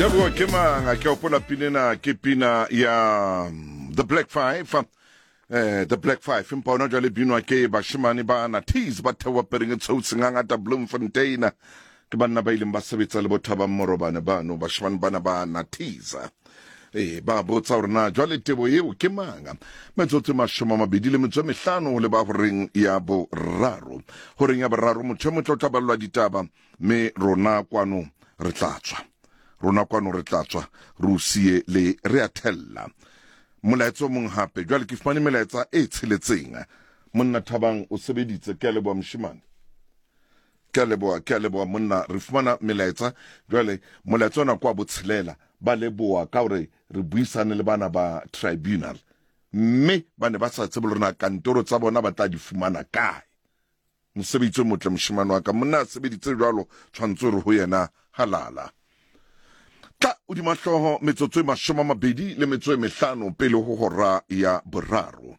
Tebogo ke mang a ke opola pina ke pina ya The Black Five. The Black Five empa ona jwale binwa ke bashemane ba Natis ba theoha pereng e tshweu sengangata Bloemfontein. Ke banna ba ileng ba sebetsa le bo Thabang Morobane bano bashemane bana ba Natis. Ee, ba botsa gore na jwale tebo eo ke mang. Metsotso e 25 ho leba horeng ya boraro. Horeng ya boraro motho e motle o tla ballwa ditaba mme rona kwano re tla tswa. Rona kwano re tla tswa re o siye le re a thella. Molaetsa o mong hape. Jwale ke fumane melaetsa e tsheletseng. Monna Thabang o sebeditse, ke a leboha moshemane. Ke a leboha, ke a leboha monna. Re fumana melaetsa jwale, molaetsa ona kwa botshelela. Ba leboha ka hore re buisane le bana ba tribunal, mme ba ne ba sa tsebe le rona kantoro tsa bona ba tla di fumana kae. Mosebetsi o motle moshemane wa ka, monna a sebeditse jwalo, tshwantse hore ho yena halala. Tla hodima hlooho metsotso e 25 pele ho hora ya boraro.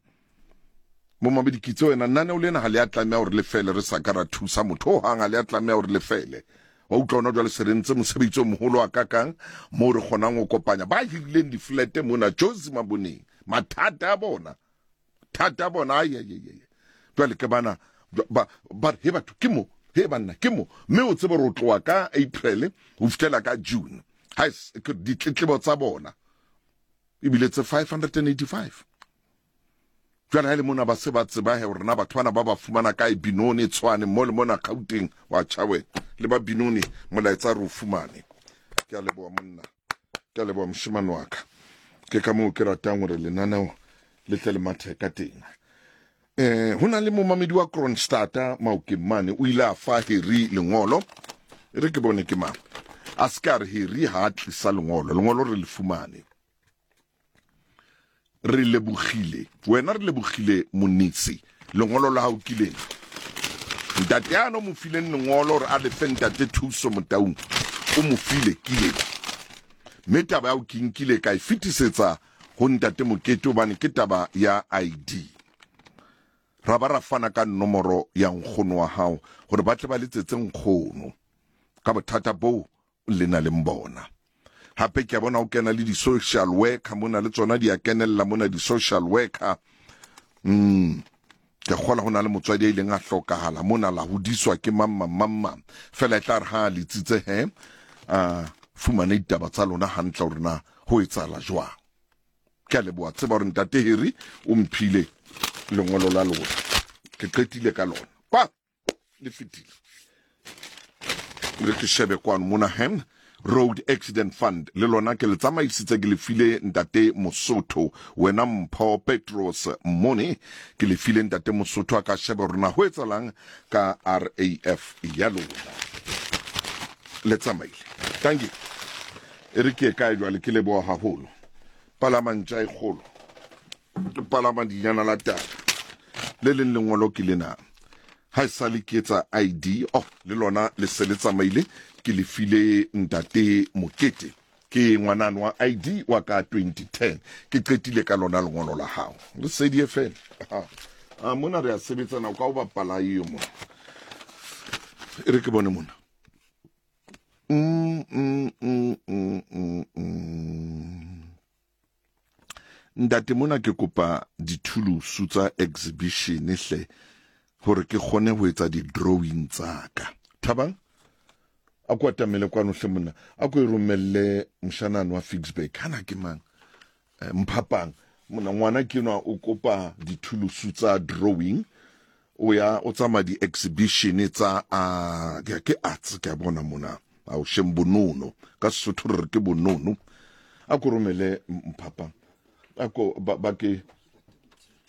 Momamedi Kitso wena lenaneo lena ha le a tlameha hore le fele re sa ka ra thusa motho ho hang, ha le a tlameha hore le fele. Wa utlwa hona jwale se re ntse mosebetsi o moholo a kakang moo re kgonang ho kopanya ba hirileng diflete mona Jozi Maboneng. Mathata a bona, thata a bona, ai ai ai. Jwale ke bana ba ba he batho ke mo, he banna ke mo. Mme o tsebe re tloha ka April ho fihlela ka June. Ha ditletlebo tsa bona ebile tse 585. Jwale ha e le mona ba se ba tseba he hore na batho bana ba ba fumana kae Binoni, Tshwane, mo le mona Gauteng. Wa tjha wena le ba Binoni, molaetsa re o fumane. Ke a leboha monna, ke a leboha moshemane wa ka. Ke ka moo ke ratang hore lenaneo le tle le mathe ka teng. Ho na le momamedi wa Kronstadta Maokeng mane, o ile a fa Harry lengolo. E re ke bone ke mang. A se ka re Harry ha a tlisa lengolo, lengolo re le fumane. Re lebogile wena, re lebogile Monisi, lengolo la hao ke lena. Ntate ano mo fileng lengolo hore a lefe ntate Thuso Motaung, o mo file ke lena. Mme taba ya ho ke nkile ka e fetisetsa ho ntate Mokete hobane ke taba ya ID. Ra ba ra fana ka nomoro ya nkgono wa hao hore ba tle ba letsetse nkgono ka bothata boo le na leng bona. Hape ke a bona o kena le di-social worker mona, le tsona di a kenella mona di-social worker. Ke kgola ho na le motswadi a ileng a hlokahala mona, la hodiswa ke mang mang mang mang. Fela e tla re ha a letsitse he, a fumane ditaba tsa lona hantle hore na ho etsahala jwang. Ke a leboha, tseba hore ntate Harry o mphile lengolo la lona. Ke qetile ka lona. Kwa! Le fetile. Re ke shebe kwano mona hem Road Accident Fund le lona ke le tsamaisitse, ke le file ntate Mosotho, wena Mpho Petros Mone, ke le file ntate Mosotho a ka sheba hore na ho etsalang ka RAF ya lona. Le tsamaile. Thank you. E re ke kae jwale, ke leboha haholo. Palama ntja e kgolo. Palama dinyana la taba. Le leng lengolo ke lena. Ha e sale ke etsa ID, oh, le lona le se le tsamaile, ke le file ntate Mokete. Ke ngwanano wa ID wa ka 2010. Ke qetile ka lona lengolo la hao. Le sedi fela. Ah, mona re a sebetsana, o ka o bapala eo mona. E re ke bone mona. Ntate mona ke kopa dithulusu tsa exhibition hle hore ke kgone ho etsa di-drawing tsa ka. Thabang, a ko atamele kwano hle monna, a ko e romelle moshanane wa Ficksburg. Hana ke mang? Mphapang. Monna ngwana ke nwa o kopa dithulusu tsa drawing, o ya o tsamaya di-exhibition tsa a ke arts, ke a bona mona. Ao shem bonono ka Sesotho re re ke bonono. A ko romele Mphapang, a ko ba ke